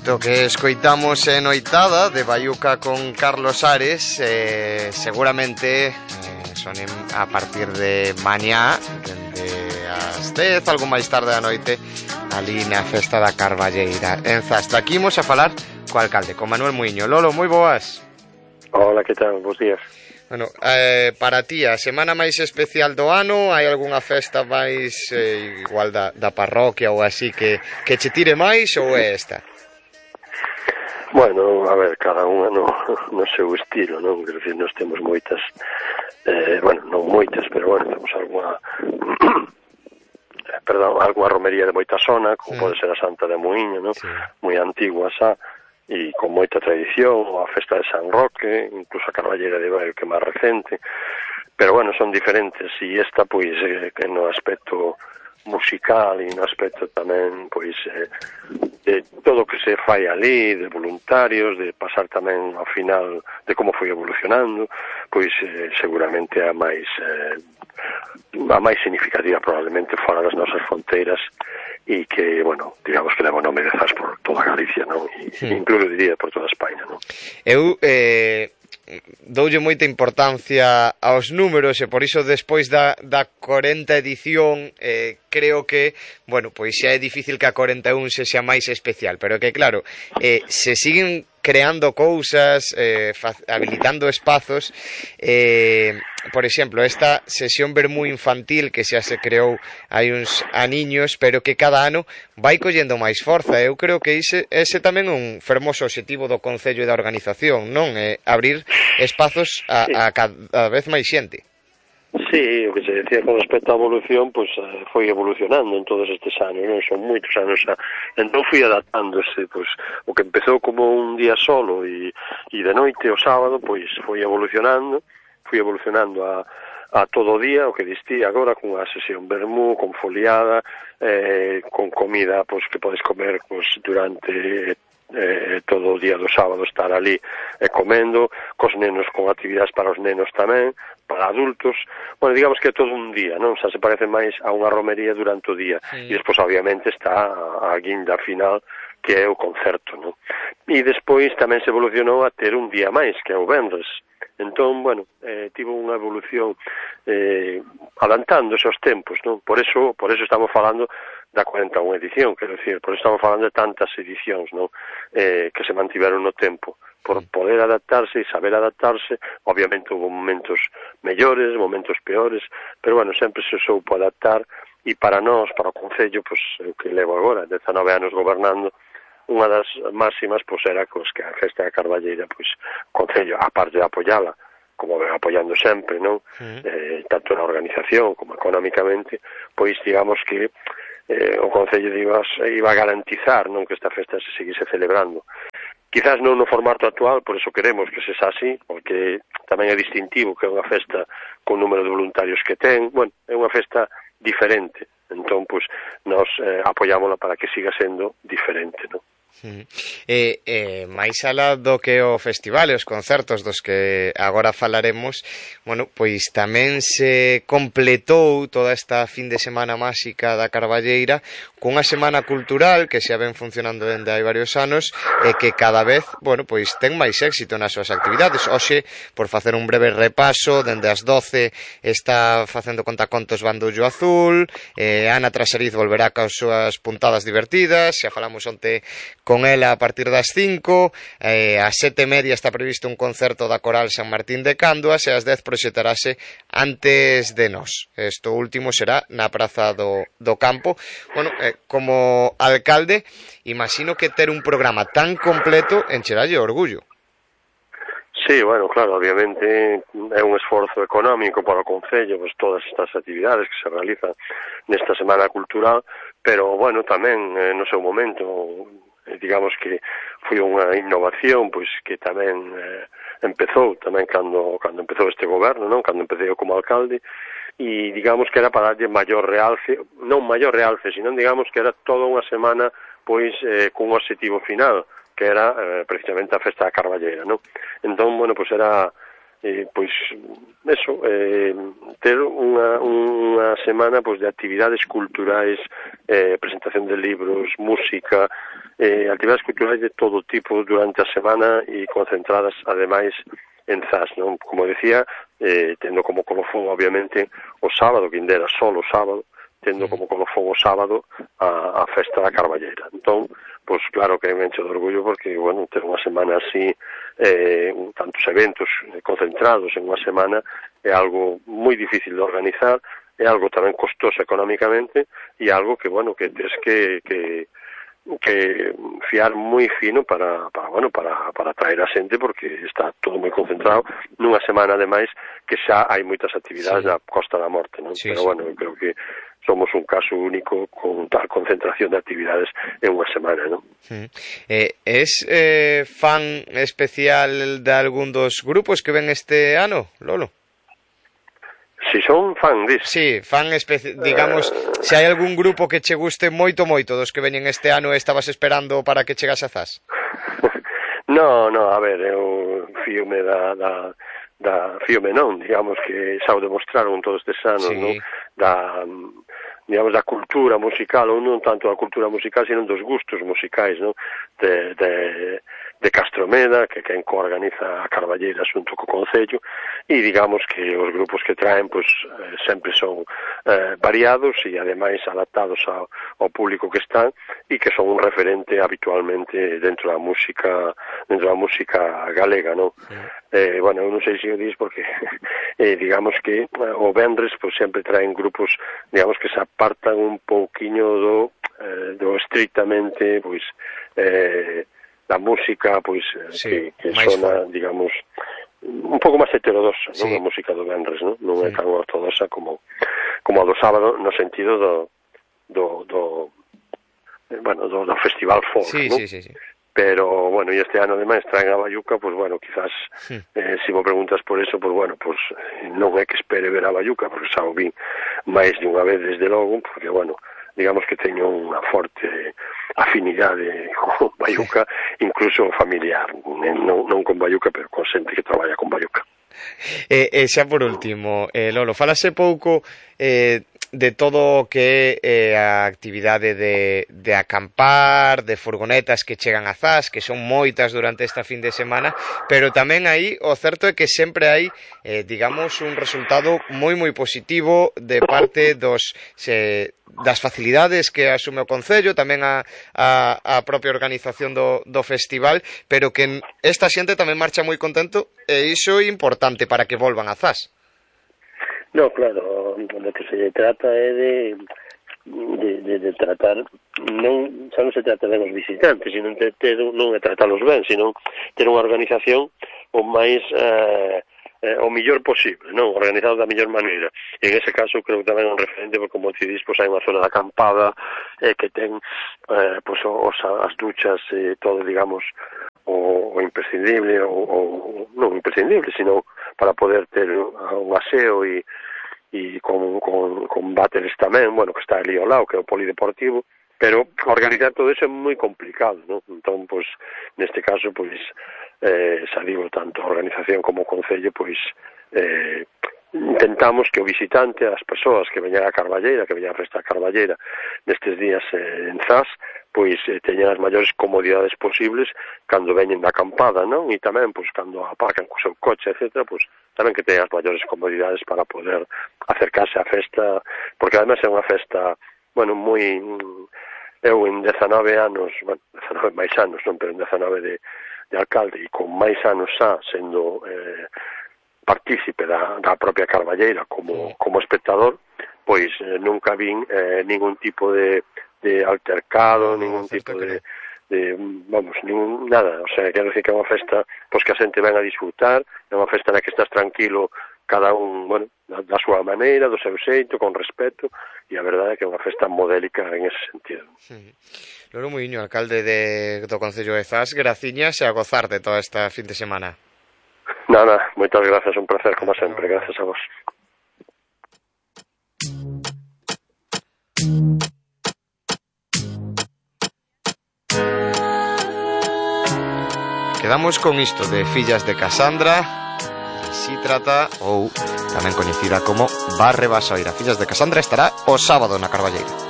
Isto que escoitamos en Noitada de Baiuca con Carlos Ares, seguramente sonen a partir de mañá, dende as 10, algo máis tarde da noite, ali na festa da Carballeira en Zas. Aquí imos a falar co alcalde, con Manuel Muiño. Lolo, moi boas. Hola, que tal? Bos días. Bueno, para ti, a semana máis especial do ano, hai algunha festa máis igual da parroquia ou así que che tire máis, ou é esta? Bueno, a ver, cada unha no seu estilo, non? Quer dizer, nós temos moitas, bueno, non moitas, pero bueno, temos alguna alguna romería de moita zona, como pode ser a Santa de Muiño, non? Sí. Moi antigua xa, e con moita tradición, a festa de San Roque, incluso a Carballeira de Baio, que é máis recente, pero bueno, son diferentes, e esta, pois, que no aspecto musical e no aspecto tamén, pois, de todo o que se fai ali, de voluntarios, de pasar tamén ao final de como foi evolucionando, pois seguramente a máis significativa probablemente fora das nosas fronteiras e que, bueno, digamos que leva o nome de Zas por toda Galicia, non? E incluso diría por toda España, non? Eu doulle moita importancia aos números e por iso despois da 40 edición creo que, bueno, pois xa é difícil que a 41 se xa máis especial, pero que claro, se siguen creando cousas, habilitando espazos, por exemplo, esta sesión vermú infantil que xa se creou hai uns aniños, pero que cada ano vai collendo máis forza. Eu creo que ese tamén é un fermoso objetivo do Concello e da organización, non? Abrir espazos a cada vez máis xente. Sí, o que se decía con respecto á evolución, pois foi evolucionando en todos estes anos, non? Son moitos anos xa. Entón fui adaptándose, pois, o que empezou como un día solo e de noite o sábado, pois foi evolucionando a todo o día, o que distí agora con a sesión vermú, con foliada, con comida, pois, que podes comer, pois, durante todo o día do sábado, estar ali comendo, cos nenos, con actividades para os nenos tamén, para adultos, bueno, digamos que é todo un día, non? Xa se parece máis a unha romería durante o día, e despois obviamente está a guinda final, que é o concerto, non? E despois tamén se evolucionou a ter un día máis, que é o venres. Entón, bueno, tivo unha evolución adelantándose aos tempos, non? Por eso estamos falando da 41 edición, quero dicir, por eso estamos falando de tantas edicións, non? Que se mantiveron no tempo, por poder adaptarse e saber adaptarse. Obviamente hubo momentos mellores, momentos peores, pero bueno, sempre se soupo adaptar, e para nós, para o Concello, pois, o que levo agora, 19 anos gobernando, unha das máximas, pois, era que a festa da Carballeira, pois, o Concello, a parte de apoiala, como ven apoiando sempre, non? Tanto na organización como económicamente, pois, digamos que o Concello iba a garantizar, non, que esta festa se seguise celebrando. Quizás non no formato actual, por eso queremos que se xa así, porque tamén é distintivo que é unha festa con número de voluntarios que ten. Bueno, é unha festa diferente, entón, pois, nós apoiámola para que siga sendo diferente, non? Máis alá do que o festival e os concertos dos que agora falaremos, bueno, pois tamén se completou toda esta fin de semana máxica da Carballeira cunha semana cultural que xa ven funcionando dende hai varios anos e que cada vez, bueno, pois ten máis éxito nas súas actividades. Hoxe, por facer un breve repaso, dende as 12 está facendo contacontos Bandullo Azul, Ana Trasariz volverá cas súas puntadas divertidas, xa falamos onte con ela a partir das 5, ás 7:30 está previsto un concerto da Coral San Martín de Canduas e ás 10 proxetarase Antes de Nós. Isto último será na Praza do Campo. Bueno, como alcalde, imagino que ter un programa tan completo encheralle orgullo. Sí, bueno, claro, obviamente é un esforzo económico para o Concello, pues, todas estas actividades que se realizan nesta Semana Cultural, pero, bueno, tamén no seu momento, digamos que foi unha innovación, pois, que tamén empezou tamén cando empezou este goberno, non? Cando empecé eu como alcalde, e digamos que era para darlle maior realce, non maior realce, sino digamos que era toda unha semana, pois, cun objetivo final, que era precisamente a festa da Carballeira, non? Entón, bueno, pois era pois eso, ter unha semana pois de actividades culturais, presentación de libros, música, actividades culturais de todo tipo durante a semana e concentradas ademais en Zas, non? Como decía, tendo como colofón obviamente o sábado, que ainda era solo o sábado, tendo como colofón o sábado a festa da Carballeira. Entón, pois claro que me encho de orgullo porque, bueno, ter unha semana así, tantos eventos concentrados en unha semana é algo moi difícil de organizar, é algo tamén costoso económicamente e algo que, bueno, que tens que fiar moi fino para atraer a xente porque está todo moi concentrado nunha semana ademais que xa hai moitas actividades na Costa da Morte, non? Pero bueno, eu creo que somos un caso único con tal concentración de actividades en unha semana, non? Es fan especial de algún dos grupos que ven este ano, Lolo? Si son fan dis. Sí, fan digamos, se hai algún grupo que che guste moito dos que veñen este ano e estabas esperando para que chegase a Zas? No, a ver, eu fíome fíome non, digamos que xa o demostraron todos estes anos, sí. Non? Digamos, da cultura musical, ou non tanto da cultura musical, sino dos gustos musicais, non? De Castromeda, que quen coorganiza a Carballeira xunto co Concello, e digamos que os grupos que traen, pois, sempre son variados e ademais adaptados ao público que están e que son un referente habitualmente dentro da música galega, non? Bueno, eu non sei se o dis porque digamos que o venres pois sempre traen grupos, digamos que se apartan un pouquiño do estrictamente pois da música pois sí, que sona, digamos, un pouco máis heterodoxa, sí. Non? A música do venres, non é tan ortodoxa como a do sábado no sentido do festival folk, sí, non? Sí. Pero, bueno, e este ano ademais traen a Bayuca, pois, bueno, quizás se me preguntas por eso, pois, bueno, pois non é que espere ver a Bayuca, porque xa o vi máis de unha vez desde logo, porque, bueno, digamos que teño unha forte afinidade con Bayuca, incluso familiar, non con Bayuca, pero con xente que traballa con Bayuca. Xa por último, Lolo, falase pouco de todo o que é a actividade de acampar, de furgonetas que chegan a Zas, que son moitas durante esta fin de semana, pero tamén aí o certo é que sempre hai, digamos, un resultado moi positivo de parte das facilidades que asume o Concello, tamén a propia organización do festival, pero que esta xente tamén marcha moi contento e iso é importante para que volvan a Zas. No, claro, lo que se trata é de tratar, xa non se trata de os visitantes, sino non é tratarlos ben, sino ter unha organización o máis o mellor posible, non? Organizado da mellor maneira. E en ese caso creo que tamén é un referente, porque como te dis, pois hai unha zona de acampada que ten pois as duchas e todo, digamos, o imprescindible, ou non imprescindible, sino para poder ter un aseo e con váteres tamén, bueno, que está ali ao lado, que é o polideportivo, pero organizar todo eso é moi complicado, non? Entón, pois, neste caso, pois, xa digo, tanto a organización como o Concello, pois, intentamos que o visitante, as persoas que veñan a Carballeira, que veñan a festa a Carballeira nestes días en Zas, pois teñan as maiores comodidades posibles cando veñen da acampada, non? E tamén, pois, cando aparcan co seu coche, etc., pois, tamén que teñan as maiores comodidades para poder acercarse á festa, porque además é unha festa, bueno, moi... Eu en 19 anos, bueno, 19 máis anos, non, pero en 19 de alcalde e con máis anos xa sendo partícipe da propia Carballeira como espectador, pois nunca vin ningún tipo de altercado, ningún tipo de vamos, nada, o sea, quero decir que é unha festa pois que a xente ven a disfrutar, é unha festa na que estás tranquilo cada un, bueno, da súa maneira, do seu xeito, con respeto, e a verdade é que é unha festa modélica en ese sentido. Lolo Muiño, alcalde do Concello de Zas, graciñas e a gozar de toda esta fin de semana. Nada, moitas gracias, un placer, como sempre, gracias a vos. Quedamos con isto de Fillas de Casandra, Xítrata, ou tamén coñecida como Barre Basoira. Fillas de Casandra estará o sábado na Carballeira.